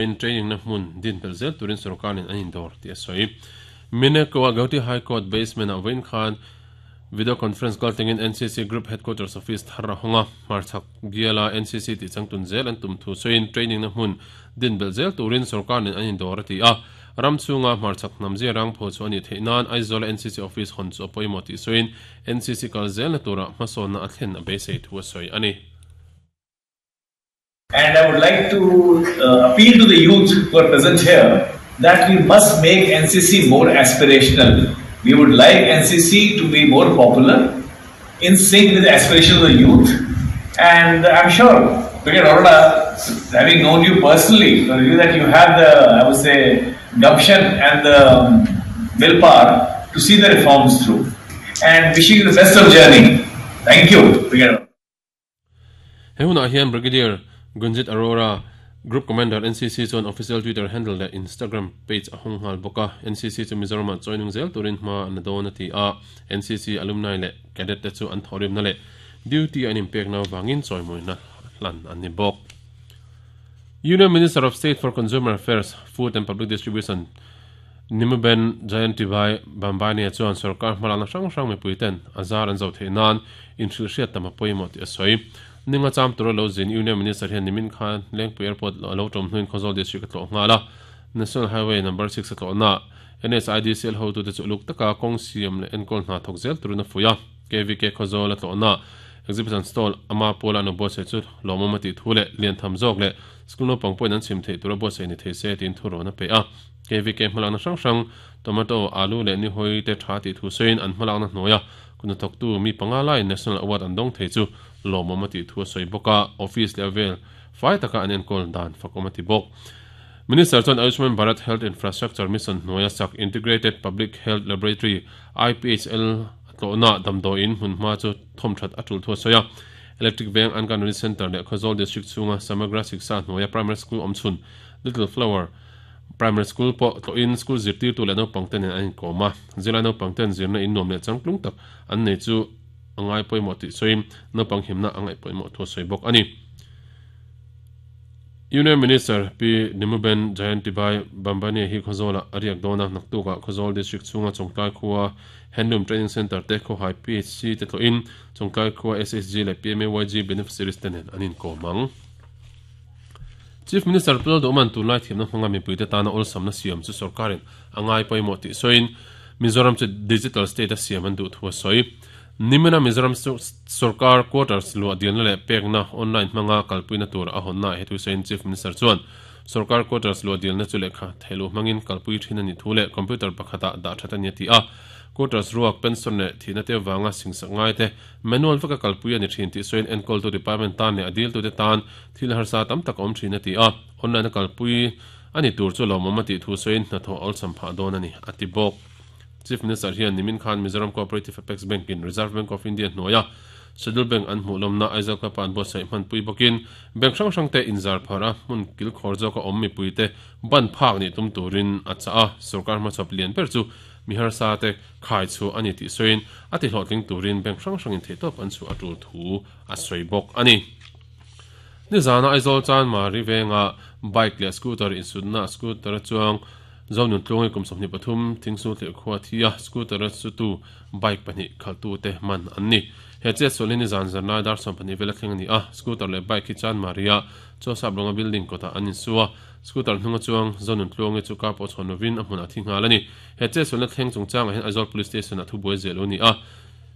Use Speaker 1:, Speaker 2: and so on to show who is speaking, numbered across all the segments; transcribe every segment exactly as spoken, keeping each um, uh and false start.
Speaker 1: In training na hmun din pel zel turin sorkarin an indawr tih a sawi. Mineko a Gauhati High Court basement ah vawiin khan video conference kal tengin N C C Group Headquarters Office thar a hawng a, hmarchhak biala N C C tih changtun zel an tum thu sawiin training na hmun din belh zel turin sorkarin an indawr a ti a. Ram chhunga hmarchhak hnam zia rang pho chu a nih theih nan Aizawl N C C office hawn chu a pawimawh tih sawiin N C C kal zel na turah hmasawnna a thlen a beisei thu a sawi a ni.
Speaker 2: And I would like to uh, appeal to the youth who are present here that we must make N C C more aspirational. We would like N C C to be more popular, in sync with the aspirations of the youth. And I'm sure, Brigadier Arora, having known you personally, you that you have the, I would say, gumption and the willpower to see the reforms through. And wishing you the best of journey. Thank you, Brigadier.
Speaker 1: He hunah hian Brigadier Gunjit Arora, Group Commander N C C chuan official Twitter handle leh Instagram page a hawng nghal bawk a. N C C chu Mizoramah chawihnung zel turin hma an la dawn a ti a. N C C alumni leh cadet te chu an thawhrimna leh duty an inpekna avangin chawimawina hlan an ni bawk. Union Minister of State for Consumer Affairs, Food and Public Distribution Nimuben Jayantibhai Bambania chuan sarkar hmalakna hrang hrang mipui ten a zar an zo theih nan inhrilh hriat tam a pawimawh tih a sawi. Ninga cham tura lo zin Union Minister hian nimin khan Lengpui Airport lo tawm hnuin Khawzawl District a tlawh nghal a. National Highway number six a tlawh na N S I D C L hotu te chu uluk taka kawng siam leh enkawl hna thawk zel turin a fuih a. K V K Khawzawl a tlawh na exhibition stall ama pawla an buatsaih chu lawmawm a tih thu leh lian tham zawk leh school naupang pawhin an chhim theih tura buatsaih ni thei se tiin thu rawn a pe a. K V K hmalakna hrang hrang tomato, alu leh nihawi te tha tih thu sawiin an hmalakna hnuaia kuna thawktu mi panga laiin National Award an dawng thei chu lawmawm a tih thu a sawi bawk a. Office leh vel fai taka an enkawl dan fakawm a ti bawk. Minister chuan Ayushman Bharat Health Infrastructure Mission hnuaia sak Integrated Public Health Laboratory I P H L a tlawhna damdawiin hmunhma chu thawmthat a tul thu a sawi a. Electric Veng Anganwadi Center leh Khawzawl District chhunga Samagra Shiksha hnuaia Primary School awmchhun Little Flower Primary School pawh tlawhin school zirtirtu leh naupang te nen an inkawm a. Zirlai naupang ten zirna in nuam leh changtlung tak an nei chu a ngai pawimawh tih sawiin naupang himna a ngaih pawimawh thu a sawi bawk a ni. Union Minister P Nimuben Jayantibhai Bambania hi Khawzawlah a riak dawn a. Naktukah Khawzawl District chhunga Chawngtlai khua Handloom Training Centre te Khawhai P H C te tlawhin Chawngtlai khua S H G leh P M A Y G beneficiaries te nen an inkawm ang. Chief Minister Pulal Duhman tunlai thiamna hmanga mipui te tana awlsamna siam chu sarkarin a ngai pawimawh tih sawiin Mizoram chu digital state a siam an duh thu a sawi. Nimina Mizoram sarkar quarters luah dilna leh pekna online hmanga kalpuina tur a hawnna he thu sawiin Chief Minister chuan sarkar quarters luah dilna chu lehkha theilu hmangin kalpui thin a ni thu leh computer pakhatah dah that a ni a ti a. Quarters ruak pension leh thihna te wanga singsak ngai te manual veka kalpui a ni thin tih sawiin enkawl tu department tan leh a dil tu te tan thil harsa tam tak a awm thin a ti a. Online a kalpui a ni tur chu lawmawm a tih thu sawiin hnathawh awlsam phah dawn a ni a ti bawk. Chief Minister hian nimin khan Mizoram Cooperative Apex Bank in Reserve Bank of India hnuaia Schedule Bank an hmuh lawmna Aizawl Club an buatsaih hmanpui bawkin bank hrang hrang te inzar phar a hmun kil khawr zawk a awm mipui te ban phak ni tum turin a chah a. Sarkar hmachhawp lian ber chu miharsa te khai chu a ni tih sawiin a ti hlawhtling turin bank hrang hrangin theihtawp an chu a tul thu a sawi bawk a ni. Ni zana Aizawl chan Mari venga bike leh scooter insutna scooter chuang Zonun tluangi kum sawmhnih pathum thingsul thlir khua thi a scooter chu tu bike pahnih khaltu te man an ni. He che sualin ni zan zarnai dar sawm pahnih vela thleng a ni a. Scooter leh bike hi chan Maria Chawsap rawnga building kawtah an insu a. Scooter hnunga chuang Zonun tluangi chu ka pawh chhawn lovin a hmunah thi nghal a ni. He che sualna thleng chungchangah hian Aizawl Police Station a thu buai zel lo ni a.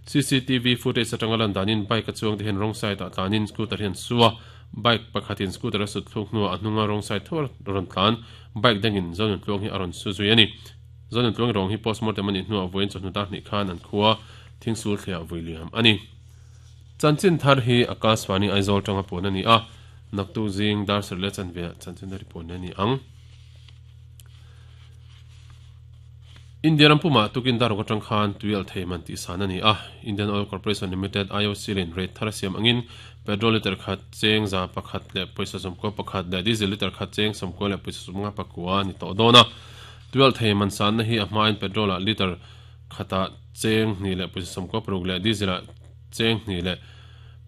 Speaker 1: C C T V footage atanga lan danin bike a chuang te hian wrong side ah tlanin scooter hian su a. Bike pakhatin scooter a sut thluk hnuah a hnunga wrong side thawr rawn tlan bike dangin Zonun tluang hi a rawn su zui a ni. Zonun tluang rawng hi postmortem a nih hnuah vawiin chawhnu dar hnih khan an khua thingsul thliah vui liam a ni. Chanchin thar hi Akashvani Aizawl tanga pawn a ni a. Naktu zing dar sarih leh chanve chanchin thar hi pawn a ni ang. India ram puma tukin daruk atang khan tuial thei man tih san a ni a. Indian Oil Corporation Limited I O C lin rate thar a siam angin petrol liter khat cheng za pakhat leh pawisa sawmkua pakhat leh diesel liter khat cheng sawmkua leh pawisa sawmnga pakua ni tawh dawn a. Tuial thei man san na hi a hmain petrol ah liter khata cheng hnih leh pawisa sawmkua paruk leh diesel ah cheng hnih leh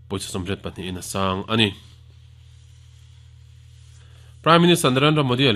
Speaker 1: pawisa sawmriat pahnih in a sang a ni. Prime Minister Narendra Modi